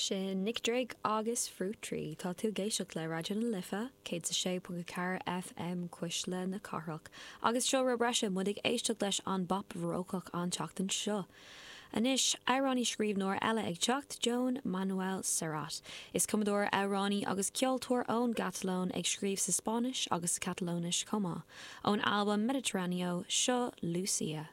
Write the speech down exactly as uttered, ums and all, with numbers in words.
Sin Nick Drake agus Fruit Tree tá tú ag éisteacht le Raidió na Life, céad a sé ponc ceathair FM Cuisle na Cathrach, agus seo rud breise muid ag éisteacht leis an bpop bharócach an tseachtain seo. Anois amhránaí scríbhneoir eile ag teacht Joan Manuel Serrat. Is cumadóir amhránaí agus ceoltóir ón gCatalóin ag scríobh sa Spáinnis agus sa Catalóinis chomh maith. Ón albam Mediterráneo seo Lucia.